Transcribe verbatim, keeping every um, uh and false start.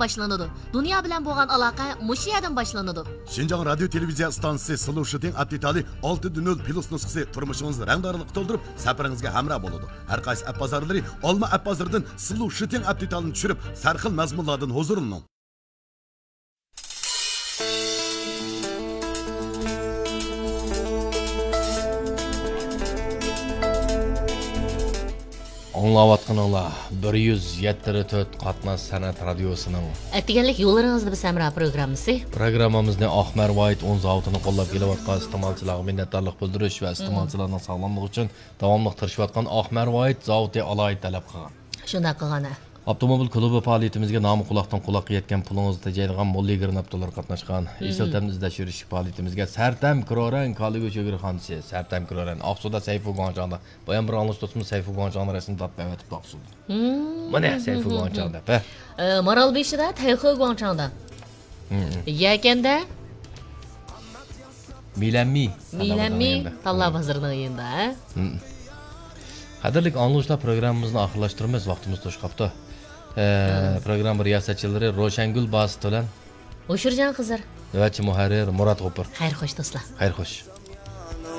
باشلىنىدۇ. دۇنيا بىلەن بولغان ئالاقە مۇشۇ يەردىن باشلىنىدۇ. شىنجاڭ رادىيو تېلېۋىزىيە ئىستانسىسى سلو شىتىڭ ئەپ دېتالى ئالتە نۆل پلۇس نۇسخىسى تۇرمۇشىڭىزنى رەڭدارلىققا تولدۇرۇپ، سەپىرىڭىزگە ھەمراھ بولىدۇ. ھەر قايسى ئەپ بازارلىرى ئالما ئەپ بازىرىدىن سلو شىتىڭ ئەپ دېتالىنى چۈشۈرۈپ، سەرخىل مەزمۇنلاردىن ھۇزۇرلىنىڭ. ئاڭلاۋاتقىنىڭلار بىر يۈز يەتتە تۆت قاتناش سەنئەت رادىيوسىنىڭ ئەتىگەنلىك يوللىرىڭىزدا بىز ھەمراھ پروگراممىسى. پروگراممىمىزنى ئاق مەرۋايىت ئۇن زاۋۇتىنى قوللاپ كېلىۋاتقان ئىستېمالچىلارغا مىننەتدارلىق بىلدۈرۈش ۋە ئىستېمالچىلارنىڭ ساغلاملىقى ئۈچۈن داۋاملىق تىرىشىۋاتقان ئاق مەرۋايىت زاۋۇتى ئالاھىدە تەلەپ قىلغان. شۇنداق قىلغان، ھە. ئاپتوموبىل كۇلۇبى پائالىيىتىمىزگە نامى قۇلاقتىن قۇلاققا يەتكەن، پۇلىڭىزنى تېجەيدىغان موللىگرىن ئاپتولار قاتناشقان. مم. ئېسىل تەمدە ئىزدەش يۈرۈشلۈك پائالىيىتىمىزگە سەرتەم كرورەن كالا گۆش ئۆگرىخانىسى، سەرتەم كرورەن ئاقسۇدا سەيفۇ گۇاڭچاڭدا. بايام بىر ئاڭلىشىپ تۇرسىمۇ، سەيفۇ گۇاڭچاڭنى رەسمىي داتتا ئەۋەتىپتۇ ئاقسۇدا. مم. مانا سەيفۇ گۇاڭچاڭ دەپ، ھە. ئە، مارالبېشىدا تەيخې گۇاڭچاڭدا. مم. يەكەندە مىلەنمى. مىلەنمى تاللا بازىرىنىڭ يېنىدا، ھە؟ مم. قەدىرلىك ئاڭلىغۇچىلار، پروگراممىمىزنى ئاخىرلاشتۇرىمىز، ۋاقتىمىز توشۇپ قاپتۇ. ئە، مم. پروگرامما رىياسەتچىلىرى روشەنگۈل باسىت بىلەن ئوشۇرجان خىزىر. نۆۋەتچى مۇھەررىر مۇرات غوپۇر. خەير خوش دوستلار. خەير خوش.